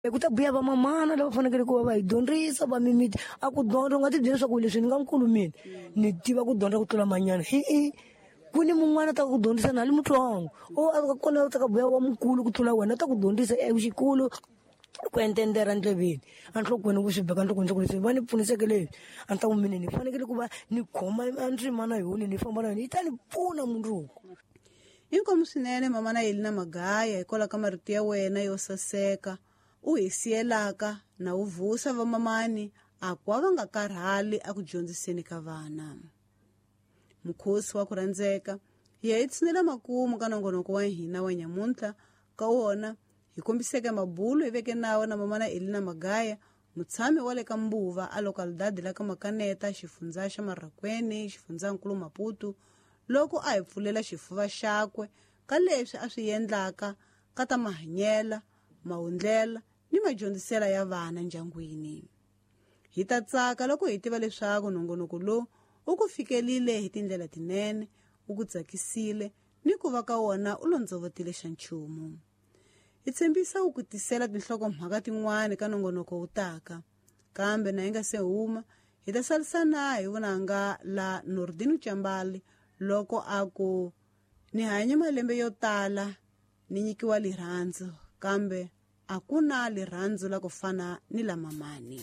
Ku ta biha vamamana lava fanekele ku va va hi dyondzisa va mimiti a ku dyondza u nga ti byela leswaku leswi ni nga nkulu mina ni tiva ku dyondza ku tlula manyana i ku ni mun'wana ta ku dyondzisa na li mutsongo o a kona u ta ka buya wa mukulu ku tlula wena ta ku dyondzisa exikulu ku entendera ndleveni enhlokweni ku swi beka nhlokweni swa ku leswi va ni pfuniseke leswi a ni ta ku mina ni fanekele ku va ni khoma ndzimana yona ni famba na yona yi ta ni pfuna mundzuku. Inkomu swinene mama na Elina Magaya hikwalaho ka marito ya wena yo saseka u hi siyelaka na u vusa vamamani a ku va nga karhali a ku dyondziseni ka vana. Mukhosi wa ku rhandzeka hi ya hi tshinela makumu ka nongonoko wa hina wa nyamuntlha ka wona hi kombiseke mabulo hi veke nawo na mamana Elina Magaya mutshami wa le ka Mbuva a localidade la ka Makaneta xifundza xa Marrakwene xifundzankulu Maputo loko a hi pfulela xifuva xakwe ka leswi a swi endlaka ka ta mahanyela mahundlela ni madyondzisela ya vana ndyangwini. Hi ta tsaka loko hi tiva leswaku nongonoko lowu u ku fikelile hi tindlela tinene u ku tsakisile ni ku va ka wona u londzovotile xa nchumu. Hi tshembisa ku ku tisela tinhlokomhaka tin'wana ka nongonoko wu taka kambe na hi nga se huma hi ta salisana hi vunanga la Nordino Chambali loko a ku ni hanye malembe yo tala ni nyikiwa lirhandzu kambe a ku na lirhandzu la ku fana ni la mamani.